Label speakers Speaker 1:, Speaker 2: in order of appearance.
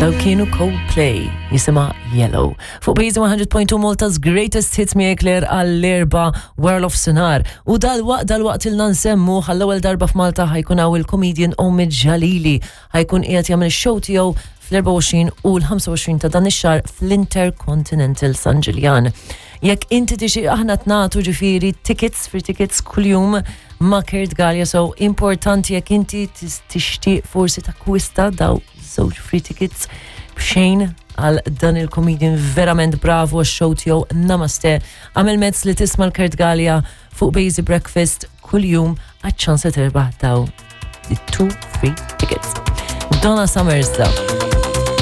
Speaker 1: Daw kienu Coldplay jisimha Yellow. Fuq Bejzi 100.2 Malta's Greatest Hits miegħek Claire għall-erba wara l-ofsinhar. U dal-waqt dal-waqt ilna nsemmu għall-ewwel darba f'Malta ħajkun hawn il-comedian Omid Jalili ħajkun qiegħed jagħmel ix-show tiegħu fl-24 u l-25 ta' dan ix-xahar fl-Intercontinental San Ġiljan. Jekk inti tixi aħna tnatu ġifieri tickets, free tickets kuljum ma' Kurt Gallia, so importanti jekk inti tixtieq forsi takkwista daw żewġ free tickets b'xejn għal dan il-comedian verament bravu għax-show tiegħu Namaste. Għamel mezz li tisma' l-Kurt Gallia fuq Bazy Breakfast kuljum għaċ-ċans li terbaħ daw the two free tickets. Donna Summers da.